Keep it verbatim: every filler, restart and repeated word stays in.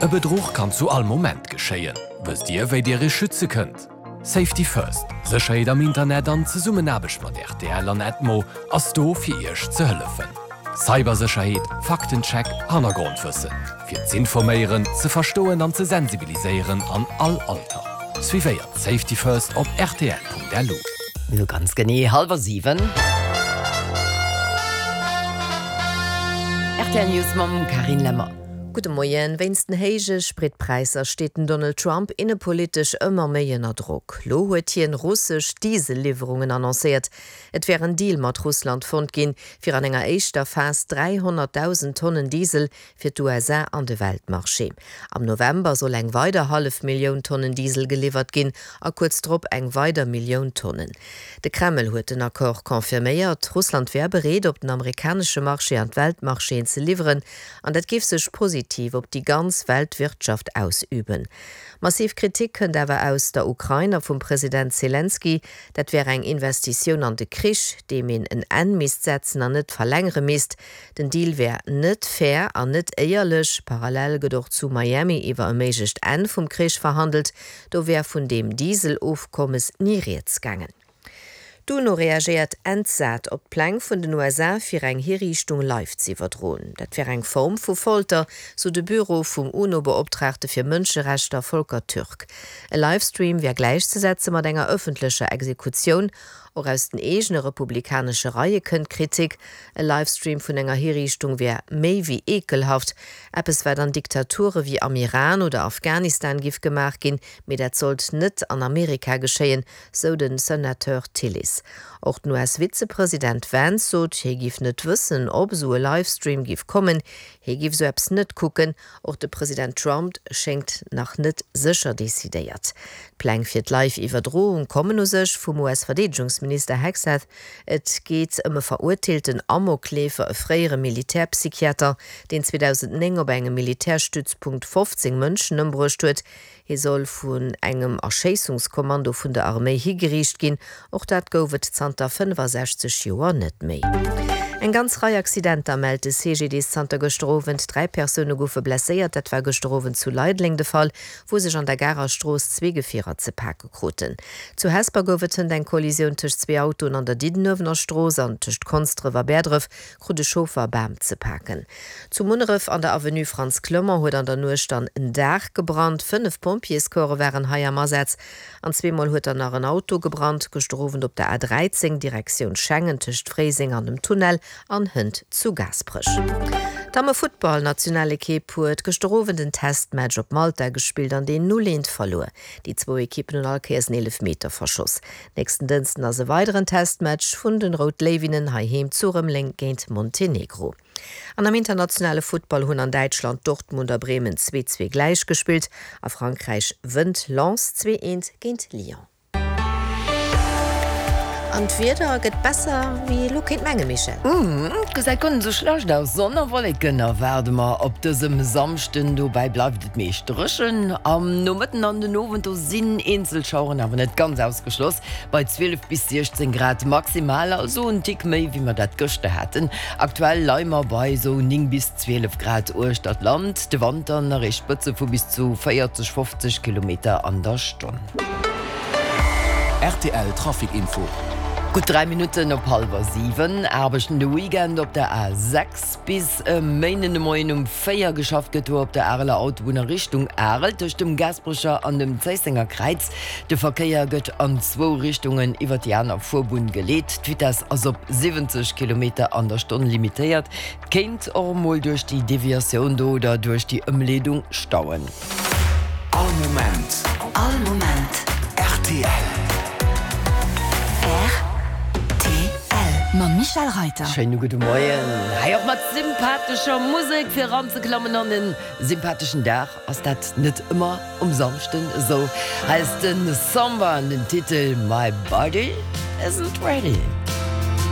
E Bedruch kann zu all Moment geschéien. Wësst Dir, wéi Dir Iech schütze kënnt? Safety First, Sécherheet am Internet an Zesummenaarbecht mat rtl an Edmo ass do fir Iech ze hëllefen. Cybersécherheet, Faktencheck, Hannergrondwëssen. Fir z'informéieren, ze verstoen an ze sensibiliséieren an all Alter. Suivéiert Safety First op rtl.lu. Mir hu ganz genee hallwer siwen. Rtl News mam Carine Lemmer. Gudde Moien. Wéinst den héije Spritpräisser steet den Donald Trump innepolitesch ëmmer méi ënner Drock. Lo huet hien russesch Diesel-Liwwerungen annoncéiert. Et wär en Deal mat Russland fonnt ginn, fir an enger éischter Phas dräihonnertdausend Tonnen Diesel fir d'USA an de Weltmarché. Am November soll eng weider hallef Millioun Tonnen Diesel geliwwert ginn a kuerz drop eng weider Millioun Tonnen. De Kreml huet den Accord confirméiert. Russland wär bereet, op den amerikanesche Marché an d'Weltmarchéen ze liwweren an dat géif sech positiv op déi ganz Weltwirtschaft ausüben. Massiv Kritik kënnt awer aus der Ukrain a vum President Selenskyj. Dat wär eng Investitioun an de Krich, deem een en Enn misst setzen an net verlängere misst. Den Deal wär net fair an net éierlech. Parallel gëtt och zu Miami iwwer e méiglecht Enn vum Krich verhandelt. Do wär vun deem Diesel-Ofkommes ni rieds gaangen. D'UNO reagéiert entsat op d'Pläng vun den USA fir eng Hiriichtung live z'iwwerdroen. Dat wär eng Form vu Folter, sou de Büro vum UNO-Beoptraagte fir Mënscherechter Volker Türk. E Livestream wär gläichzesetze mat enger ëffentlecher Exekutioun. Och aus den eegene republikanesche Reie kënnt Kritik. E Livestream vun enger Hiriichtung wär méi wéi eekelhaft, eppes wat an Diktature wéi am Iran oder Afghanistan giff gemaach ginn, mee dat sollt net an Amerika geschéien, sou de Senateur Tillis. Och den US-Vizepresident Vance sot, hie giff net wëssen, ob esou e Livestream giff kommen. Hie giff esou eppes net kucken. Och de President Trump schéngt nach net sécher decidéiert. D'Pläng fir d'Live-Iwwerdroung kommen u sech vum US-Verdeedegungsminister Hegseth. Et geet ëm e verurteelten Amokleefer, e fréiere Militärpsychiater, deen zweedausendnéng op engem Militärstützpunkt fofzéng Mënschen ëmbruecht huet. Hie soll vun engem Erschéissungskommando vun der Arméi higeriicht ginn. Och dat gouf et zanter fënnefasechzeg Joer net méi. Eng ganz Rei Accidenter mellt de C G D S zanter gëschter Owend. Dräi Persoune goufe blesséiert. Dat war gëschter Owend zu Leideleng de Fall, wou sech an der Garer Strooss zwee Gefierer ze pake kruten. Zu Hesper gouf et hënt eng Kollisioun tëscht zwee Autoen an der Diddenuewener Strooss an tëscht Konsdref a Bäerdref krut e Chauffer e Bam ze paken. Zu Munneref an der Avenue Frantz Clement huet an der Nuecht dann en Daach gebrannt. Fënnef Pompjeescorpse waren hei am Asaz. An zweemol huet dann nach en Auto gebrannt, gëschter Owend op der A dräizéng Direktioun Schengen tëscht Fréiseng an dem Tunnel an hënt zu Gaasperech. D'Damme-Futtball-Nationalekipp huet gëschter Owend en Testmatch op Malta gespillt an deen null eent verluer. Déi zwou Ekippen hunn all Kéiers en Eelefmeter verschoss. Nächsten Dënschden ass e weideren Testmatch vun den Rout Léiwinnen heiheem zu Rëmeleng géint Montenegro. An am internationale Futtball hunn an Däitschland Dortmund a Bremen zwee zwee gläich gespillt. A Frankräich wënnt Lens zwee eent géint Lyon. An d'Wieder gëtt besser wéi ee lo kéint mengen, Michèle. Et gesäit guer net esou schlecht aus. Sonn a Wolleken erwaarde mer op dësem Samschden. Dobäi bleift et meescht dréchen. Am Nomëtten an den Owend do sinn eenzel Schaueren awer net ganz ausgeschloss, bei zwielef bis siechzéng Grad maximal, also en Tick méi wéi mer dat gëschter haten. Aktuell leie mer bei esou néng bis zwielef Grad uechter d'Land. De Wand dann erreecht Spëtze vu bis zu véierzeg, fofzeg Kilometer an der Stonn. Rtl Trafic Info. Gutt dräi Minutten op hallwer siwen. Aarbechten de Weekend op der A sechs bis e Méinden de Moien um véier. Geschafft gëtt do op der Areler Autobunn a Richtung Arel tëscht dem Gaasperecher an dem Zéissenger Kräiz. De Verkéier gëtt an zwou Richtungen iwwer déi aner Fuerbunn geleet. D'Vitess ass op siwwenzeg Kilometer an der Stonn limitéiert. Et kéint och emol duerch déi Deviatioun do oder duerch déi Ëmleedung stauen. All Moment. All Moment. Rtl. Rtl. Mam Michèle Reiter. Schéine gudde Moien. Hei och mat sympathescher Musek fir eranzeklammen an en sympatheschen Dag. Ass dat net ëmmer um Samschden esou? Hei ass de Samba an den Titel My Body Isn't Ready.